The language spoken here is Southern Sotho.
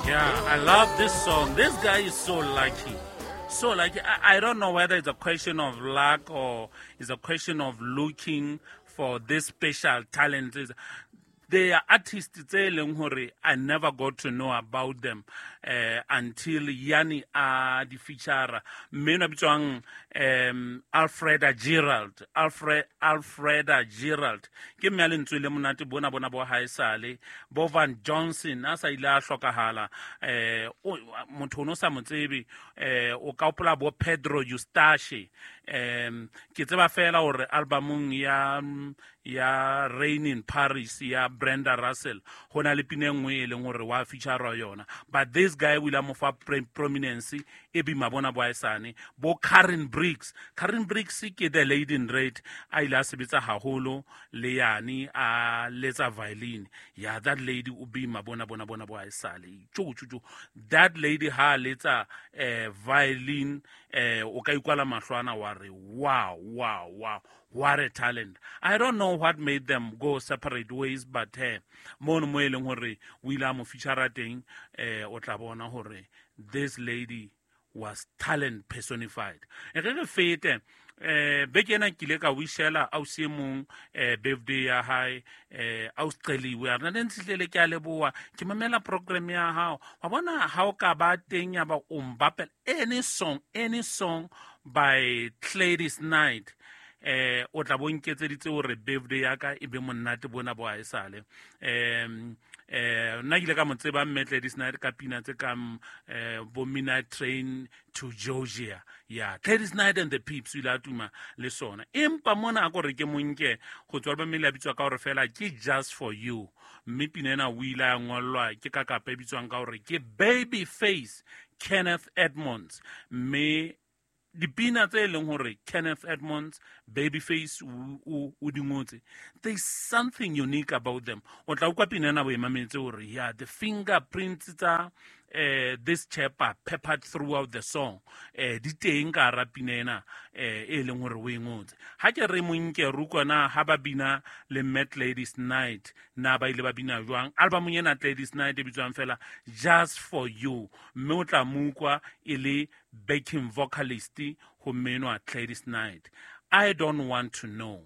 Yeah, I love this song. This guy is so lucky. So lucky. I don't know whether it's a question of luck or it's a question of looking for this special talent. They are artists tse leng hore I never got to know about them until Yani a di feature. Mme enwa bitswang Alfreda Gerald. Alfreda Gerald. Ke mme a lentswe le monate bona bona bo haesale. Bo Van Johnson a sa ile a hlokahala. Motho o no sa mo tsebe, o ka hopola bo Pedro Eustache. Ke tseba fela hore albumong ya Rain in Paris ya Brenda Russell ho na le pina e nngwe e leng hore wa feature yona, but this guy o ile a mo fa prominence e bima bona bo haesane. Bo Karen Briggs, Karen Briggs ke the lady in red, a ile a sebetsa haholo le yane a letsa violin. Yeah, that lady o bima bona bona bona bo haesale. Tjo tjo tjo, that lady ha letsa violin, o ka ikwala mahlwana wa re wow wow wow, what a talent. I don't know what made them go separate ways, but mono mo e leng hore o ile a mo feature teng, o tla bona hore this lady was talent personified. E re re fete, beke ena ke ile ka wishela ausi e mong birthday ya hae, ausi Celiwe, a re nna ntshihlele ke a leboha, ke mamela program ya hao. Wa bona ha o ka ba teng ya ba o mbapela any song, any song by Gladys Knight, o tla bo nketseditse hore birthday ya ka e be monate bona bo haesale. Nna ke ile ka mo tseba mme Gladys Knight ka pina tse kang bo Midnight Train to Georgia. Yeah, Gladys Knight and the Pips o ile a tuma le sona. Empa mona a ko re ke monke go tswa album e le a bitswa ka hore fela ke Just For You, mme pina ena o ile a ngollwa ke ka kapa e bitswang ka hore ke Baby Face Kenneth Edmonds. Mme dipina tse leng hore Kenneth Edmonds Babyface o di ngotse, there's something unique about them. O tla utlwa pina ena bo e mametse hore yeah, the fingerprints tsa this chap are peppered throughout the song, di teng ka hara pina ena e leng hore o e ngotse. Ha ke re monke re utlwa na ha ba bina le Mad Ladies Night, na ba ile ba bina jwang albumong ena Gladys Knight e bitswang fela Just For You, mme o tla mo utlwa e le backing vocalist ho mmenwa Gladys Knight. I don't want to know.